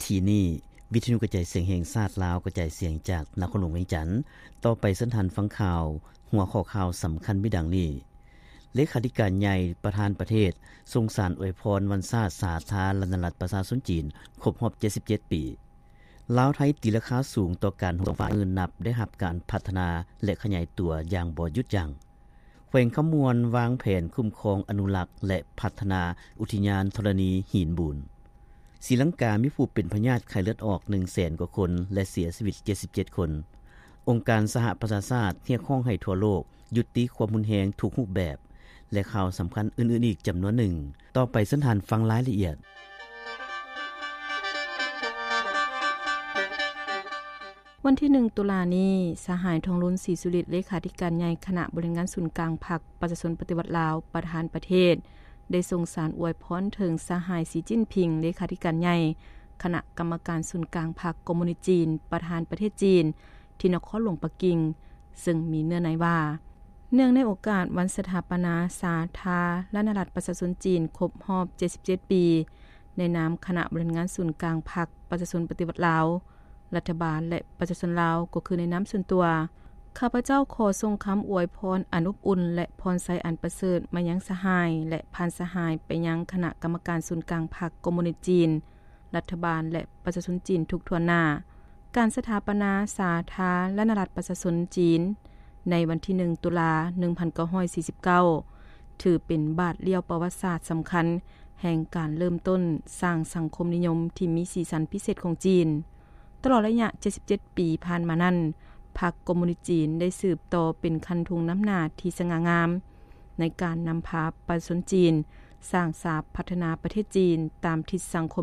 ກີ້ນີ້, ວິທະຍຸກະຈາຍສຽງແຫ່ງຊາດລາວ ກະຈາຍສຽງຈາກນະຄອນຫຼວງວຽງຈັນ. ຕໍ່ໄປເຊີນທ່ານຟັງຂ່າວ, ຫົວຂໍ້ຂ່າວສຳຄັນມີດັ່ງນີ້: ເລຂາທິການໃຫຍ່ ປະທານປະເທດ ສົ່ງສານອວຍພອນວັນຊາດສາທາລະນະລັດປະຊາຊົນຈີນ ຄົບຮອບເຈັດສິບເຈັດປີ. ລາວ-ໄທ ຕີລາຄາສູງຕໍ່ການໂຮມສອງຝ່າຍ ເມື່ອນັບໄດ້ຮັບການພັດທະນາ ແລະ ຂະຫຍາຍຕົວຢ່າງບໍ່ຢຸດຢັ້ງ. ແຂວງຄຳມ່ວນວາງແຜນຄຸ້ມຄອງ, ອະນຸລັກ ແລະ ພັດທະນາອຸທິຍານທໍລະນີຫີນບູນ. ສີລັງກາມີຜູ້ເປັນພະຍາດໄຂ້ເລືອດອອກໜຶ່ງແສນກວ່າຄົນ ແລະ ເສຍຊີວິດເຈັດສິບເຈັດຄົນ. ອົງການສະຫະປະຊາຊາດຮຽກຮ້ອງໃຫ້ທົ່ວໂລກຢຸດຕິຄວາມຮຸນແຮງທຸກຮູບແບບ ແລະ ຂ່າວສຳຄັນອື່ນໆອີກຈຳນວນໜຶ່ງ. ຕໍ່ໄປເຊີນທ່ານຟັງລາຍລະອຽດ. ວັນທີໜຶ່ງ ຕຸລານີ້, ສະຫາຍ ທອງລຸນ ສີສຸລິດ ເລຂາທິການໃຫຍ່ຄະນະບໍລິຫານງານສູນກາງພັກປະຊາຊົນປະຕິວັດລາວ ປະທານປະເທດ ໄດ້ສົ່ງສານອວຍພອນເຖິງສະຫາຍ ສີຈິ້ນຜິງ ເລຂາທິການໃຫຍ່ຄະນະກຳມະການສູນກາງພັກຄອມມູນິດຈີນ ປະທານປະເທດຈີນ ທີ່ນະຄອນຫຼວງປັກກິ່ງ, ເຊິ່ງມີເນື້ອໃນວ່າ ເນື່ອງໃນໂອກາດວັນສະຖາປະນາສາທາລະນະລັດປະຊາຊົນຈີນຄົບຮອບເຈັດສິບເຈັດປີ, ໃນນາມຄະນະບໍລິຫານງານສູນກາງພັກປະຊາຊົນປະຕິວັດລາວ, ລັດຖະບານ ແລະ ປະຊາຊົນລາວ, ກໍຄືໃນນາມສ່ວນຕົວ, ຂ້າພະເຈົ້າຂໍສົ່ງຄຳອວຍພອນອັນອົບອຸ່ນ ແລະ ພອນໄຊອັນປະເສີດມາຍັງສະຫາຍ ແລະ ຜ່ານສະຫາຍໄປຍັງຄະນະກຳມະການສູນກາງພັກຄອມມູນິດຈີນ, ລັດຖະບານ ແລະ ປະຊາຊົນຈີນທຸກຖ້ວນໜ້າ. ການສະຖາປະນາສາທາລະນະລັດປະຊາຊົນຈີນ ໃນວັນທີໜຶ່ງ ຕຸລາ ໜຶ່ງພັນເກົ້າຮ້ອຍສີ່ສິບເກົ້າ ຖືເປັນບາດລ້ຽວປະຫວັດສາດສຳຄັນ ແຫ່ງການເລີ່ມຕົ້ນສ້າງສັງຄົມນິຍົມທີ່ມີສີສັນພິເສດຂອງຈີນ. ຕະຫຼອດໄລຍະເຈັດສິບເຈັດປີຜ່ານມານັ້ນ, ພັກຄອມມູນິດຈີນໄດ້ສືບຕໍ່ເປັນຄັນທຸງນຳໜ້າທີ່ສະຫງ່າງາມ ໃນການນຳພາປະຊາຊົນຈີນສ້າງສາພັດທະນາປະເທດຈີນຕາມທິດສັງຄົມ